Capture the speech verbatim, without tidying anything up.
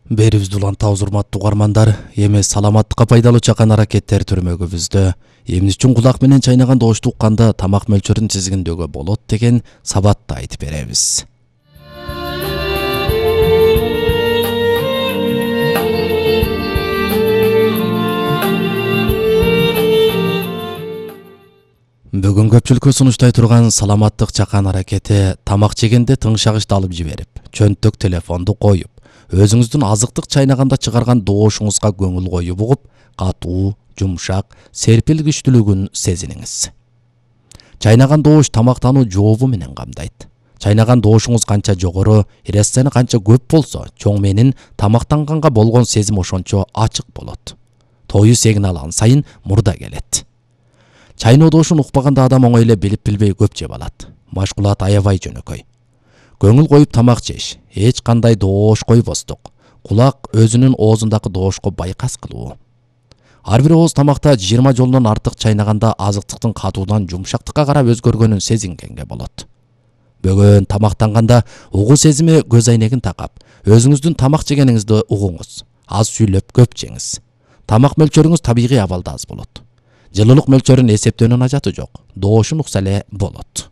Берибизди улантабыз урматтуу угармандар. Эми саламаттыкка пайдалуу чакан аракеттер түрмөгүбүздө эмне үчүн кулак менен чайнаган добушту укканда тамак мөлчөрүн тизгиндөөгө болот деген сабатты айтып беребиз. Бүгүн көпчүлүккө сунуштай турган саламаттык чакан аракети тамак жегенде тыңшагычты алып жиберип, чөнтөк телефонду коюп, өзүңүздүн азыктык чайнаганда чыгарган добушуңузга көңүл коюп угуп, катуу, жумшак, серпил күчтүүлүгүн сезиниңиз. Чайнаган добуш тамактануу жообу менен камдайт. Чайнаган добушуңуз канча жогору, эрессени канча көп болсо, чоң менин тамактанганга болгон сезим ошончо ачык болот. Тою сигналын сайын мурда келет. Чайноо добушун укпаганда адам оңой эле билип билбей көп жеп алат. Машкулат аябай жөнөкөй. Көңүл коюп тамак жеш, эч кандай добуш койбостук. Кулак өзүнүн оозундагы добушко байкас кылуу. Ар бир ооз тамакта жыйырма жолунан артык чайнаганда азыктыктын катуудан жумшактыкка карап өзгөргөнүн сезингенге болот. Бөгөн тамактанганда угуу сезими көз айнегин такап, өзүңүздүн тамак жегениңизди угуңуз. Аз сүйлөп көп жеңиз. Тамак мөлчөрүңүз табигый абалда аз болот. Жылуулук мөлчөрүн эсептөөнүн ажаты жок. Добушун укса эле болот.